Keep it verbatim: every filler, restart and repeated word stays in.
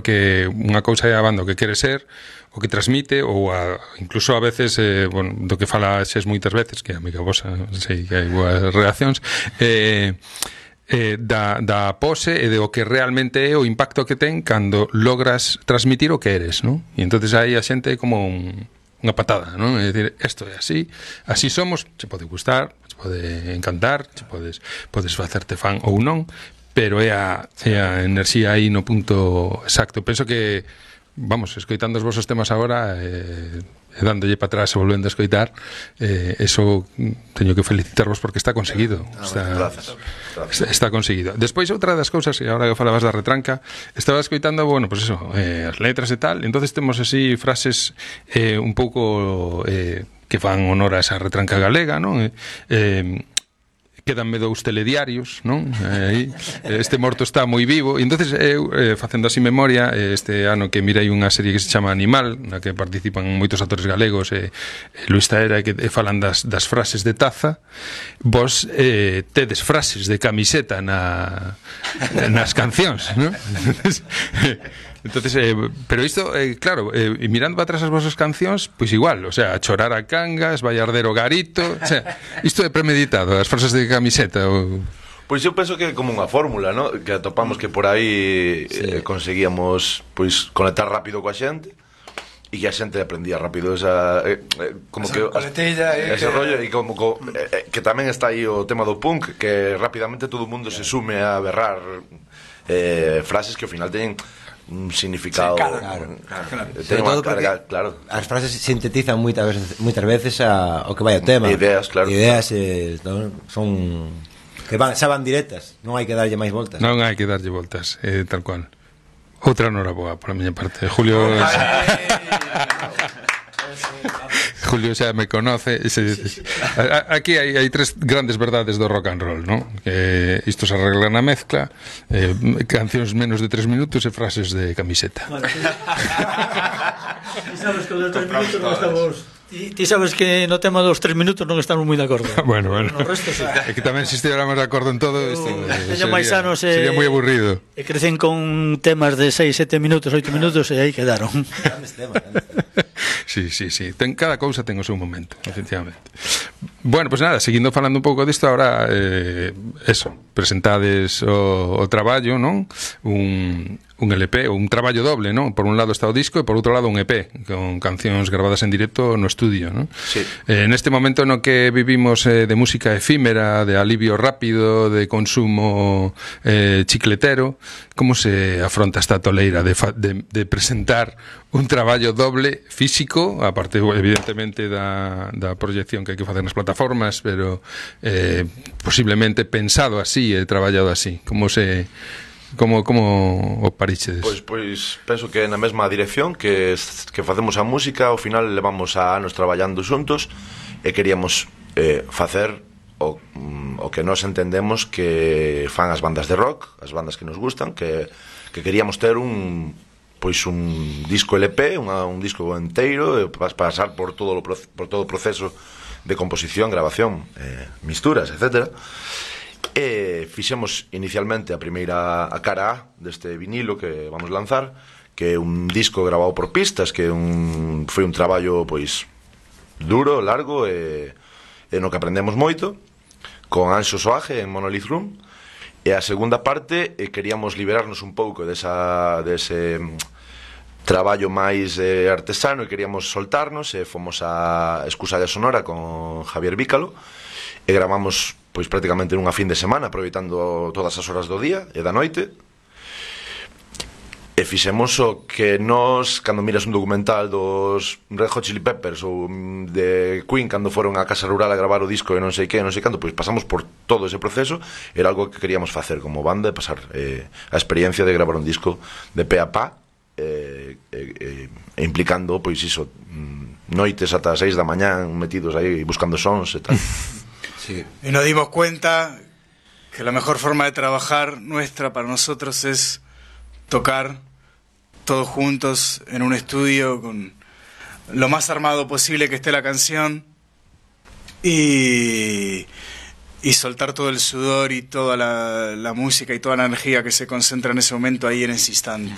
porque unha cousa é a banda o que quere ser, o que transmite, ou a, incluso a veces, eh, bueno, do que fala xes moitas veces, que a amiga vosa, sei que hai boas reaccións, eh, eh, da, da pose e de o que realmente é o impacto que ten cando logras transmitir o que eres, non? E entonces aí a xente é como un, unha patada, non? É dicir, isto é así, así somos, se pode gustar, se pode encantar, se podes, podes facerte fan ou non, pero é a, é a enerxía aí no punto exacto. Penso que, vamos, escoitando os vosos temas agora, eh, e dándolle para atrás e volvendo a escoitar, eh, eso teño que felicitarvos porque está conseguido, está, está, está conseguido. Despois, outra das cousas, e agora que falabas da retranca, estaba escoitando, bueno, pues eso, eh, as letras e tal, entonces temos así frases eh, un pouco eh, que fan honor a esa retranca galega, non? Eh, eh, quedanme dous telediarios, non? Aí, este morto está moi vivo. E entonces eu, eh, facendo así memoria, este ano que mirei unha serie que se chama Animal, na que participan moitos actores galegos, e eh, Luis Taera, que eh, falan das, das frases de taza. Vos eh, tedes frases de camiseta na, nas cancións, non? Entonces, eh, pero isto, eh, claro, eh, mirando para atrás as vosas cancións, pois igual, o sea, chorar a cangas, vai arder o garito, o sea, isto é premeditado, as frases de camiseta ou... Pois eu penso que é como unha fórmula, ¿no? Que atopamos que por aí sí. eh, conseguíamos pois conectar rápido coa xente e que a xente aprendía rápido esa eh, eh, como esa que coletilla, eh, ese que... rollo e como co, eh, que tamén está aí o tema do punk, que rapidamente todo o mundo yeah. se sume a berrar eh, frases que ao final teñen un significado, sí, claro, claro, claro. Ten unha carga, claro. As frases sintetizan moitas veces, moitas veces a, o que vai o tema. Ideas, claro. Ideas eh, no, son que van, xa van directas, non hai que darlle máis voltas. Non hai que darlle voltas, eh, tal cual. Outra noraboa por a miña parte. Julio Julio xa me conoce. Se, aquí hai, hai tres grandes verdades do rock and roll, ¿no? Que isto se arregla na mezcla, eh, cancións menos de tres minutos e frases de camiseta. Bueno, sabes que os tres minutos non estamos... Ti, ti sabes que no tema dos tres minutos non estamos moi de acordo. Bueno, bueno. No resto, sí. É que tamén se estivéramos de acordo en todo isto, eh, sería, máis anos, eh, sería moi aburrido. E crecen con temas de seis, sete minutos, oito minutos e aí quedaron. Sí, sí, sí. Ten, cada cousa ten o seu momento, efectivamente. Bueno, pues nada, seguindo falando un pouco disto, ahora eh, eso, presentades o, o traballo, non? Un, un L P, un traballo doble, non? Por un lado está o disco e por outro lado un E P con cancións gravadas en directo no estudio, non? Sí. Eh, neste momento no que vivimos eh, de música efímera, de alivio rápido, de consumo eh, chicletero, como se afronta esta toleira de, fa, de, de presentar un traballo doble físico, aparte evidentemente da, da proyección que hai que facer nas plataformas, pero eh, posiblemente pensado así e traballado así? Como se... Como, como o parichedes? Pois, pois penso que na mesma dirección que, que facemos a música, ao final levamos a anos traballando xuntos e queríamos eh, facer o, o que nós entendemos que fan as bandas de rock, as bandas que nos gustan, que, que queríamos ter un pois un disco L P, unha, un disco enteiro, pasar por todo o, por todo o proceso de composición, grabación, eh, misturas, etcétera. E fixemos inicialmente a primeira a cara A deste vinilo que vamos lanzar, que é un disco grabado por pistas, que un, foi un traballo pois duro, largo e, e no que aprendemos moito, con Anxo Soaje en Monolith Room. E a segunda parte eh, queríamos liberarnos un pouco desa, dese traballo máis eh, artesano e queríamos soltarnos e fomos a Escusalla Sonora con Javier Vícalo e gravamos pois prácticamente nunha fin de semana, aproveitando todas as horas do día e da noite, e fixemos o que nós, cando miras un documental dos Red Hot Chili Peppers ou de Queen, cando foron á casa rural a gravar o disco e non sei que, non sei canto, pois pasamos por todo ese proceso. Era algo que queríamos facer como banda, de pasar eh, a experiencia de gravar un disco de pe a pa, eh, eh, eh, implicando, pois iso, noites ata as seis da mañá metidos aí buscando sons e tal. Sí. Y nos dimos cuenta que la mejor forma de trabajar nuestra para nosotros es tocar todos juntos en un estudio con lo más armado posible que esté la canción y, y soltar todo el sudor y toda la, la música y toda la energía que se concentra en ese momento ahí en ese instante.